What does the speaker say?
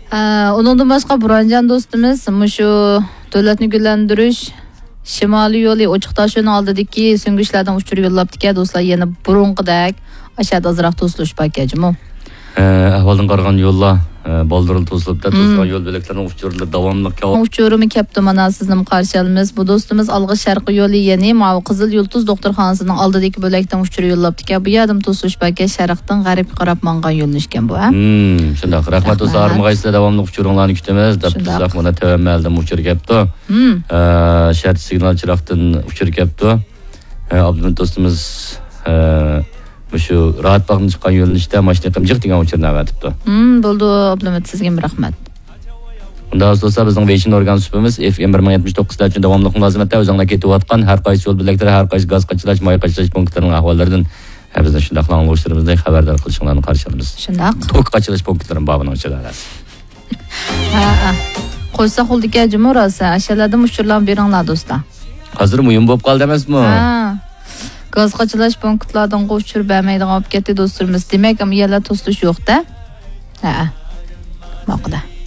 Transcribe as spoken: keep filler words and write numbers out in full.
ئە، ئۇنىڭدىن باشقا بۇرھانجان دوستىمىز مۇشۇ دۆلەتنى گۈللەندۈرۈش شىمالىي يولى ئوچۇق تاشيولىنىڭ ئالدىدىكى سۈڭگۈچلەردىن ئۇچۇر يوللاپتىكەن دوستلار، يەنە بۇرۇنقىدەك ئاشەدە ئازراق توسۇلۇش باركەن جۇمۇ. ئە، ئەھۋالدىن قارىغان يوللار، ئە، بالدۇرلا توسۇلۇپتۇ. توسۇلغان يول بۆلەكلىرىنىڭ ئۇچۇرلىرى داۋاملىق كەۋ- ئۇچۇرىمۇ كەپتۇ، مانا سىزنىمۇ قارشى ئالىمىز. بۇ دوستىمىز ئالغا شەرقىي يولى، يەنى ماۋۇ قىزىل يۇلتۇز دوختۇرخانىسىنىڭ ئالدىدىكى بۆلەكتىن ئۇچۇر يوللاپتىكەن. بۇ يەردىمۇ توسۇلۇش باركەن، شەرقتىن غەربكە قاراپ ماڭغان يۆنىلىشكەن بۇ، ھە؟ ھىم، شۇنداق. رەھمەت دوستلار، ھەرمىغايسىلەر داۋاملىق ئۇچۇرۇڭلارنى كۈتىمىز دەپ تۇرساق، مانا تۆۋەن مەھەلدىن ئۇچۇر كەپتۇ. ئە، شەھەر سىگنال چىراغدىن ئۇچۇر كەپتۇ. ئە، ئابلىمىت دوستىمىز، ئە، مۇشۇ راھەت باغدىن چىققان يۆنىلىشتە ماشىنا ئېقىم جىق دېگەن ئۇچۇرنى ئەۋەتىپتۇ. ھىم، بولدى، ئابلىمىت، سىزگىمۇ رەھمەت. ئۇنداق دوستلار، بىزنىڭ ۋېيشىن ئورگان سۇپىمىز ئېف ئېم بىر مىڭ يەتمىش توققۇز ئۈچۈن داۋاملىق مۇلازىمەتتە ئۆزۈڭلار كېتىۋاتقان ھەر قايسى يول بۆلەكلىرى، ھەر قايسى گاز قاچىلاش، ماي قاچىلاش پونكىتلىرىنىڭ ئەھۋاللىرىدىن، ھە، بىزنىڭ شۇنداقلا ئاڭلىغۇچىلىرىمىزنى خەۋەردار قىلىشىڭلارنى قارشى ئالىمىز. شۇنداق. توك قاچىلاش پونكىتلىرىمۇ بار بۇنىڭ ئىچىدە. ھە، ھە. قويساق بولىدىكەن جۇمۇ راسا. ئاشۇلاردا ئۇچۇرلارنى بېرىڭلار دوستلار. ھازىر مۇھىم بولۇپ قالدى ئەمەسمۇ؟ ھە. گاز قاچىلاش پونكىتلاردىن ئۇچۇر بەرمەيدىغان بولۇپ كەتتى دوستلىرىمىز. دېمەك، ئەمما يەنە توسۇلۇش يوق-دە. ھە. ماقۇل.